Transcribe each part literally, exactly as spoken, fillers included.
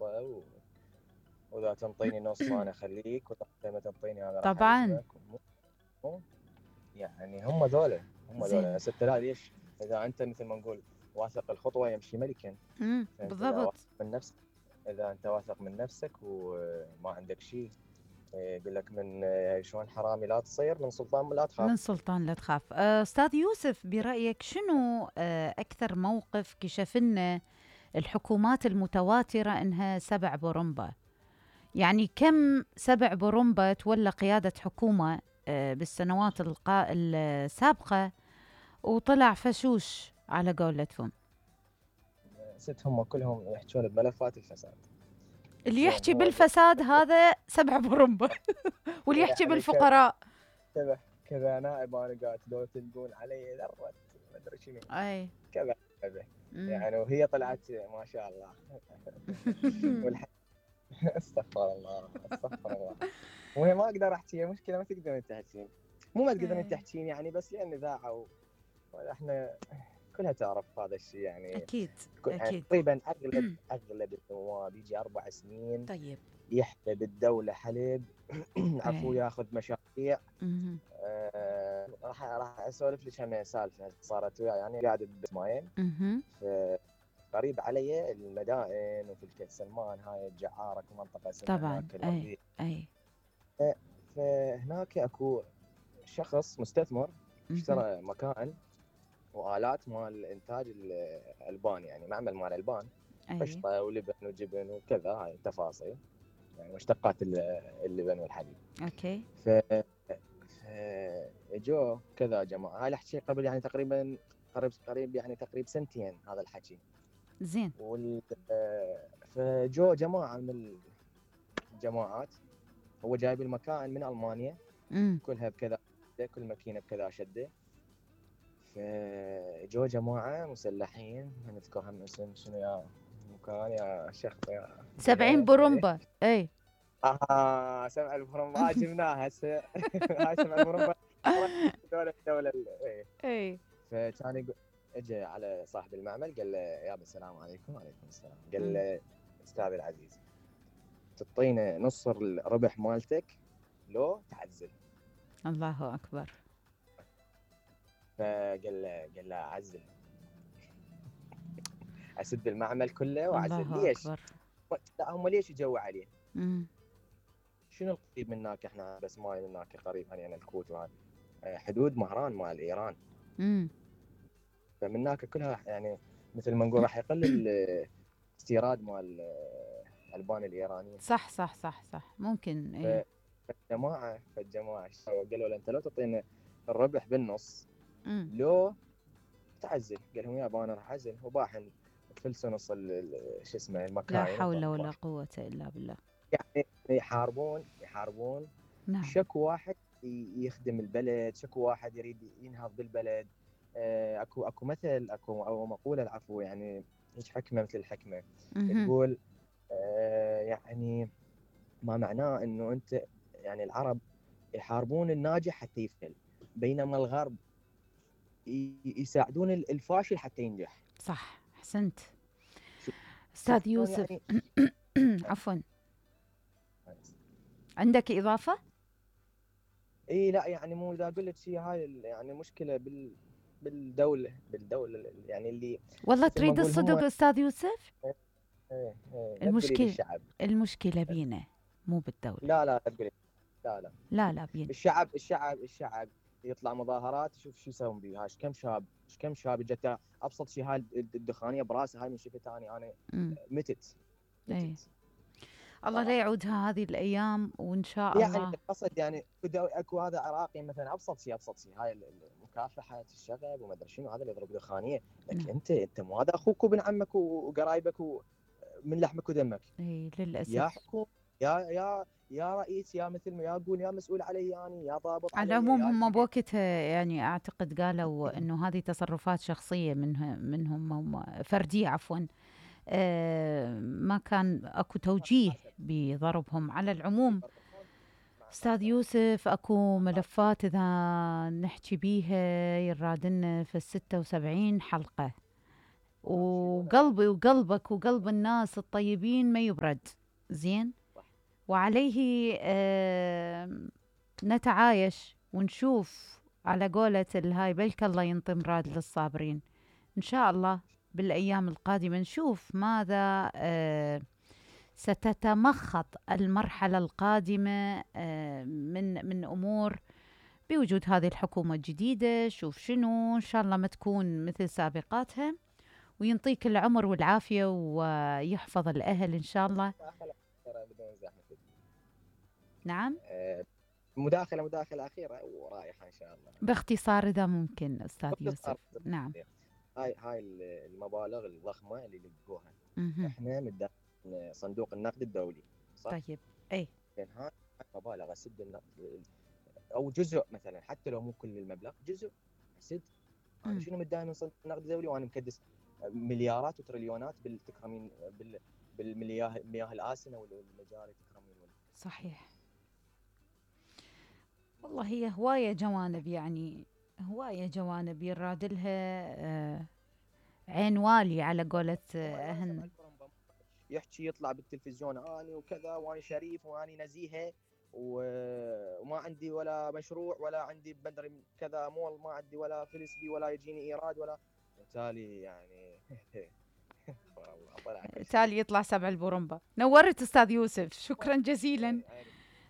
فرصه و... واذا تنطيني نص انا اخليك، واذا ما تنطيني انا راح طبعا الزمك. يعني هم ذولا هم ذولا زين. ست. لا ليش؟ اذا انت مثل ما نقول واثق الخطوه يمشي ملكا. امم فانت اذا بالضبط. واثق من نفسك، اذا انت واثق من نفسك وما عندك شيء، يقول لك من شلون حرامي لا تصير، من سلطان لا تخاف. من سلطان لا تخاف. آه، أستاذ يوسف، برأيك شنو آه، أكثر موقف كشف لنا الحكومات المتواترة إنها سبع برمبة؟ يعني كم سبع برمبة تولى قيادة حكومة آه، بالسنوات القا... السابقة وطلع فشوش على قولتهم؟ ست هم كلهم يحجون بملفات الفساد. اللي يحكي بالفساد هذا سبع برمبة واللي يحكي يعني بالفقراء كذا كذا نائب انا قاعد لو تلقون علي ذره ما ادري شنو اي كذا كذا يعني. وهي طلعت ما شاء الله والح... استغفر الله استغفر الله. وهي ما اقدر احكي، مشكله ما تقدرين تحكين، مو ما تقدرين تحكين يعني، بس لان اذاعه واحنا كلها تعرف هذا الشيء يعني. اكيد يعني تقريبا اغلب اغلب النواب يجي اربع سنين طيب يحلب الدوله حلب عفو، ياخذ مشاريع. آه راح راح اسولف لك هم سالفه صارت وياي يعني. قاعد بسماين قريب علي المدائن وفي الكيت سلمان، هاي الجعاره منطقه اسمها طبعا. اي اي فهناك اكو شخص مستثمر اشترى مكان والات مال انتاج الالبان، يعني معمل مال البان، قشطه ولبن وجبن وكذا، هاي التفاصيل يعني مشتقات اللبن والحليب. اوكي. ف جو كذا جماعه، هاي الحكي قبل يعني تقريبا قريب قريب يعني تقريبا سنتين هذا الحكي. زين. وال فجو جماعه من الجماعات، هو جايب المكان من المانيا مم. كلها بكذا، كل ماكينه بكذا شده. فجو جماعه مسلحين، ما نذكر هم اسم شنو يا مكان يا شيخ يا سبعين برمبه. اي اه سبع البرمبات جبناها هسه. هاي سبع البرمبات دولة الدولة. اي فكان يقول، اجى على صاحب المعمل قال له يابا السلام عليكم. وعليكم السلام. قال له استاذ العزيز تعطينا نص الربح مالتك لو تعزل. الله اكبر. فقال له قال له اعزل، اسد المعمل كله واعزل. الله ليش؟ أكبر. لا هم ليش يجوا عليه؟ امم شنو القريب منك؟ احنا بس ماي منك قريب يعني الكويت وهذا حدود مهران مال ايران. امم فمناك كلها يعني مثل ما نقول راح يقل الاستيراد مال الالبان الايرانيه. صح صح صح صح ممكن. اي فالجماعه فالجماعه قالوا له انت لو تعطينا الربح بالنص مم. لو تعزل. قال لهم يابا انا راح اعزل. وباحن فلسوا نص شو اسمه المكاين. لا حول ولا قوه الا بالله. يعني يحاربون يحاربون نعم. شكو واحد يخدم البلد، شكو واحد يريد ينهض بالبلد. اكو اكو مثل اكو او مقوله العفو يعني هيك حكمه مثل الحكمه تقول يعني ما معناه انه انت يعني العرب يحاربون الناجح حتى يفشل، بينما الغرب يساعدون الفاشل حتى ينجح. صح احسنت استاذ يوسف. يعني عفوا عندك اضافه؟ اي لا يعني مو اذا قلت شيء هاي يعني مشكله بال بالدوله بالدوله يعني اللي والله تريد الصدق استاذ يوسف. ايه ايه ايه المشكله الشعب. المشكله بينا مو بالدوله. لا لا تقولي لا لا لا لا بينا. الشعب الشعب الشعب يطلع مظاهرات، شوف شو يسوون بيها. ايش كم شاب ايش كم شاب اجت ابسط شيء هاي الدخانيه براسها، هاي من شفت اني انا متت متت. الله لا يعودها هذه الايام وان شاء يعني الله. قصد يعني اكو هذا عراقي مثلا ابسط شيء ابسط شيء هاي مكافحه الشغب وما ادري شنو، هذا اللي يضرب دخانيه. لكن انت انت مو هذا اخوك وابن عمك وقرايبك ومن لحمك ودمك. اي للاسف. يا حكومه يا يا يا رئيس يا مثل ما يقول يا مسؤول علي يعني يا ضابط على العموم هم بوقتها يعني اعتقد قالوا انه هذه تصرفات شخصيه منهم منهم هم فرديه عفوا. آه ما كان اكو توجيه بضربهم. على العموم استاذ يوسف اكو ملفات اذا نحكي بيها يرادنا في الستة وسبعين حلقه. وقلبي وقلبك وقلب الناس الطيبين ما يبرد. زين. وعليه آه نتعايش ونشوف على قولة الهاي بلك الله ينطي مراد للصابرين. إن شاء الله بالأيام القادمة نشوف ماذا آه ستتمخض المرحلة القادمة آه من من أمور بوجود هذه الحكومة الجديدة. شوف شنو إن شاء الله ما تكون مثل سابقاتها، وينطيك العمر والعافية ويحفظ الأهل إن شاء الله. نعم. مداخلة مداخلة أخيرة ورايحة إن شاء الله باختصار إذا ممكن أستاذ يوسف. نعم. هاي هاي المبالغ الضخمة اللي لقوها إحنا من صندوق النقد الدولي، صح؟ طيب. أي. يعني هاي مبالغ سد النقد أو جزء مثلا، حتى لو مو كل المبلغ، جزء سد. أنا شنو متداين من صندوق النقد الدولي وأنا مكدس مليارات وتريليونات بالتكرمين بال بالمياه المياه الآسنة والمجاري تكرمين. صحيح. والله هي هواية جوانب، يعني هواية جوانب يراد لها آه عين والي على قولة أهن. يحكي يطلع بالتلفزيون اني وكذا واني شريف واني نزيهه وما عندي ولا مشروع ولا عندي بدري كذا مول، ما عندي ولا فلس بي ولا يجيني ايراد ولا، بالتالي يعني بالتالي يطلع سبع البرمبة. نورت استاذ يوسف، شكرا جزيلا.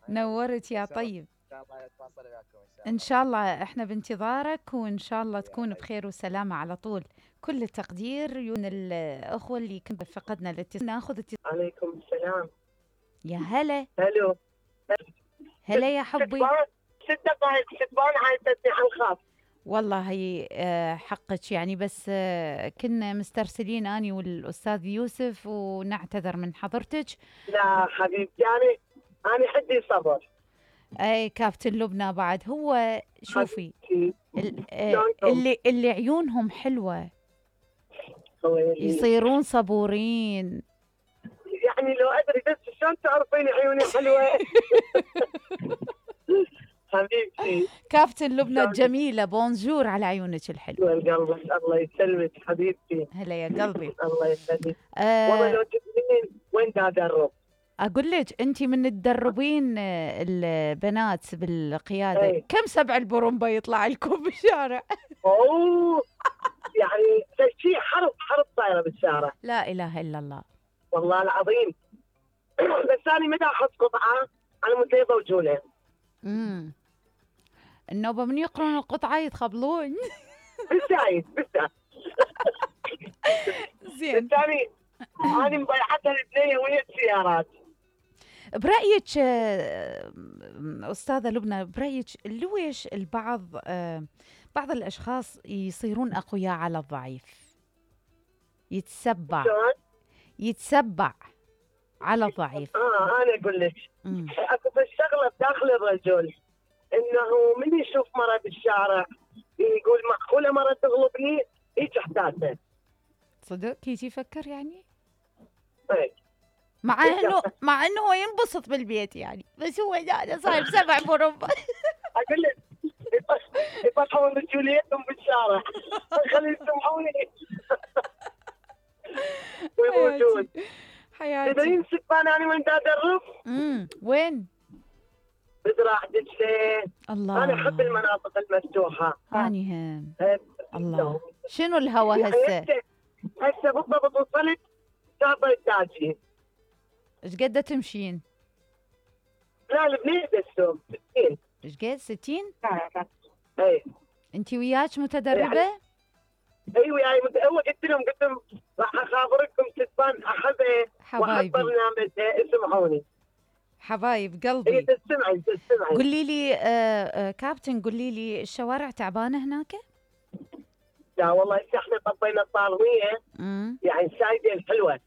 نورت يا طيب. ان شاء الله احنا بانتظارك، وان شاء الله تكون بخير وسلامه على طول. كل التقدير من الاخوه اللي كنت فقدنا الاتصال. ناخذ اتصال. عليكم السلام. يا هلا. هلو. هلا يا حبي. ست دقائق ستبان عايزتني على الخاص. والله هي حقك يعني، بس كنا مسترسلين اني والاستاذ يوسف ونعتذر من حضرتك. لا حبيبتي انا انا حدي صبر. اي كابتن لبنى بعد هو شوفي اللي اللي عيونهم حلوه يصيرون صبورين. يعني لو ادري بس شلون تعرفين عيوني حلوه. حبيبتي كابتن لبنى الجميله، بونجور على عيونك الحلوه. والقلب الله يسلمك حبيبتي. هلا يا قلبي. الله يسلمك. آه والله لو تبين وين دا ادرب. اقول لك انت من تدربين البنات بالقياده. أي. كم سبع البرمبه يطلع لكم بالشارع؟ اوه يعني شيء حرب حرب صايره بالشارع. لا اله الا الله والله العظيم. بس انا متى احط قطعه على مود يضوجوا له. امم النوبه من يقرون القطعه يتخبلون. بالزايد بالزايد. زين. بس انا انا مبيعتها البنيه وهي السيارات. برأيك أستاذة لبنى، برأيك ليش البعض بعض الأشخاص يصيرون أقوياء على الضعيف؟ يتسبع يتسبع على الضعيف. اه انا اقول لك اكو الشغله بداخل الرجل انه من يشوف مرة بالشارع يقول معقوله مرة تغلبني هيك احساسه. صدق كيف يفكر يعني؟ ايه مع انه مع انه هو ينبسط بالبيت يعني، بس هو انا صاير سبع برمبة. اقول لك يطلعون رجوليتهم بالشارع خلي يسمعوني ويموتون. حياتي. تدرين سبان انا وين ادرب؟ امم وين؟ بزراعة دجلة. الله. انا احب المناطق المفتوحة. اني هم. الله. شنو الهوى يعني هسه؟ هسه بالضبط وصلت شاطئ التاجين. ايش قد تمشين؟ لا البنيه بس ستين. ايش قد ستين؟ اي. انت وياك متدربه؟ يعني اي وياي مت... هو قلت لهم قلت لهم راح اخابركم ستبان احبه حبايبي. واحب برنامجها اسمعوني. حبايب قلبي. هي تستمعي تستمعي. قولي لي آه آه كابتن، قولي لي الشوارع تعبانه هناك؟ لا والله هسه احنا طبينا الطارميه يعني السايده الحلوه.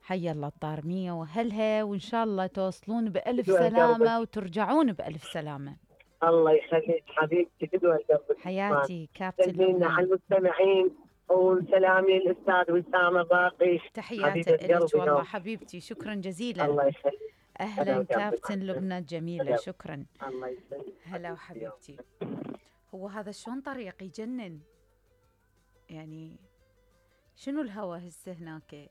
حي الله الطارميه واهلها، وان شاء الله توصلون بالف سلامه وترجعون بالف سلامه. الله يخليك حبيبتي قدوه قلبك. حياتي كابتن لبنى. على المستمعين وسلامي الاستاذ وسام الراقي. تحياتي لك والله حبيبتي، شكرا جزيلا. الله يخليك. اهلا كابتن لبنى الجميله، شكرا. الله يسلمك. هلا وحبيبتي. هو هذا شلون طريق يجنن؟ يعني شنو الهوى هسه هناك؟